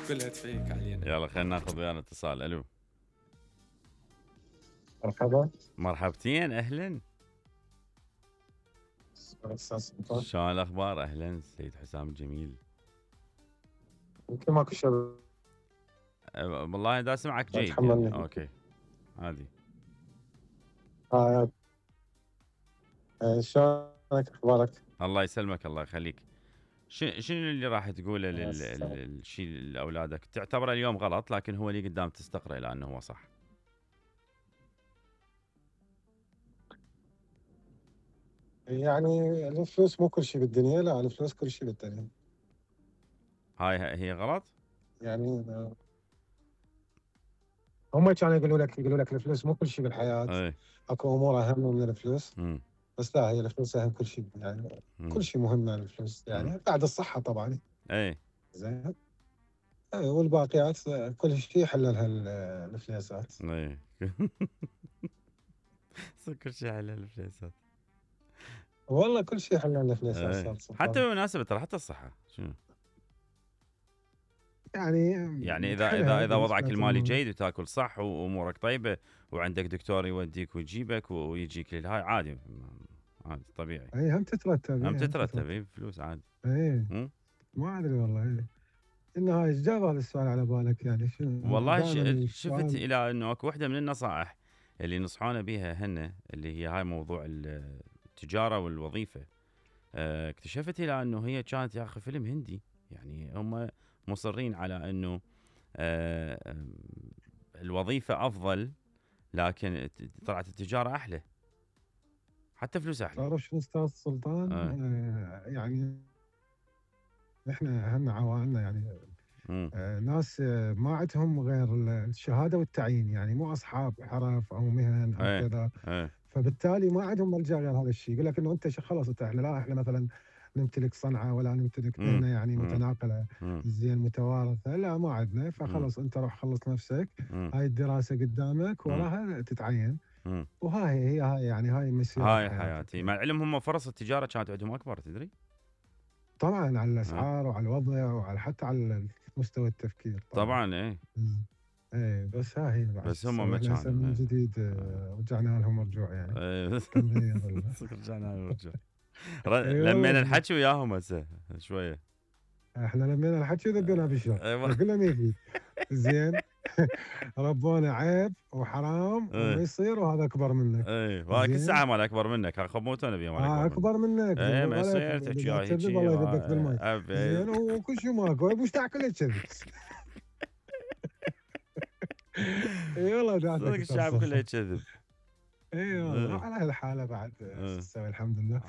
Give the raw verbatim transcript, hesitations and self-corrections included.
كلها تفيك علينا. يلا خلينا ناخذ ويانا اتصال. الو مرحبا. مرحبتين اهلا. شلون الاخبار؟ اهلا سيد حسام الجميل. يمكن ماكو شيء. أه والله دا اسمعك جيد يعني. اوكي عادي. اه شلونك اخبارك؟ الله يسلمك الله يخليك. شنو اللي راح تقوله للشيء لاولادك تعتبره اليوم غلط لكن هو اللي قدام تستقره لانه هو صح؟ يعني الفلوس مو كل شيء بالدنيا. لا الفلوس كل شيء بالدنيا. هاي هي غلط؟ يعني هم كانوا يقولوا لك يقولوا لك الفلوس مو كل شيء بالحياه. اي اكو امور اهم من الفلوس. م. بس لا هي الفلوس اهم كل شيء يعني. م. كل شيء مهم عن الفلوس يعني م. بعد الصحه طبعا. اي زين. اي والباقيات كل شيء يحل لها الفليسات. اي كل شيء يحل لها الفليسات. والله كل شيء يحل لها الفليسات. حتى بالمناسبه ترى حتى الصحه شنو؟ يعني يعني اذا اذا اذا وضعك المالي جيد وتاكل صح وامورك طيبه وعندك دكتور يوديك ويجيبك ويجيك للهاي عادي عادي طبيعي. اي هم تترتب هم تترتب اي فلوس عادي. اي ما ادري والله. ايه انه هاي جاب هذا السؤال على بالك يعني شنو؟ والله شفت الى انه اكو وحده من النصائح اللي نصحونا بها هن اللي هي هاي موضوع التجاره والوظيفه. اه اكتشفت الى انه هي كانت يا اخي فيلم هندي يعني هم مصرين على انه اه الوظيفه افضل لكن طلعت التجاره احلى حتى فلوس احلى. تعرف شو استاذ سلطان؟ آه. آه يعني احنا هم عوائلنا يعني آه ناس آه ما عندهم غير الشهاده والتعيين يعني مو اصحاب حرف او مهن او ايه كذا. ايه فبالتالي ما عندهم ملجا غير هذا الشيء. يقول لك انه انت خلاص انت احنا لا احنا مثلا نمتلك صنعه ولا نمتلك مهنه يعني متناقله زين متوارثه. لا ما عندنا. فخلص انت روح خلص نفسك. مم. هاي الدراسه قدامك وراها تتعين. مم. وهاي هي هاي يعني هاي مسيرة هاي حياتي. مع العلم هم فرص التجاره كانت عندهم اكبر تدري؟ طبعا على الاسعار وعلى الوضع وعلى حتى على مستوى التفكير. طبعا, طبعاً ايه ايه بس ها هي بس هم ما كانوا من جديد آه. رجعنا لهم رجوع يعني. ايه رجعنا لهم رجوع. لمينا الحكي وياهم هسه شويه. احنا لمينا الحكي وذبينا بالشر كلنا نيجي زين. ربونا عيب وحرام وما يصير وهذا اكبر منك. ايه وهاي كل ساعه مال اكبر منك ها خموتونا بيهم اه اكبر منك. ايه ما يصير تحكي هاي هيك والله يذبك بالماء زين وكل شيء ماكو وش تاكل كذي. اي والله صدق الشعب كله يكذب. اي والله على هالحاله بعد تسوي الحمد لله.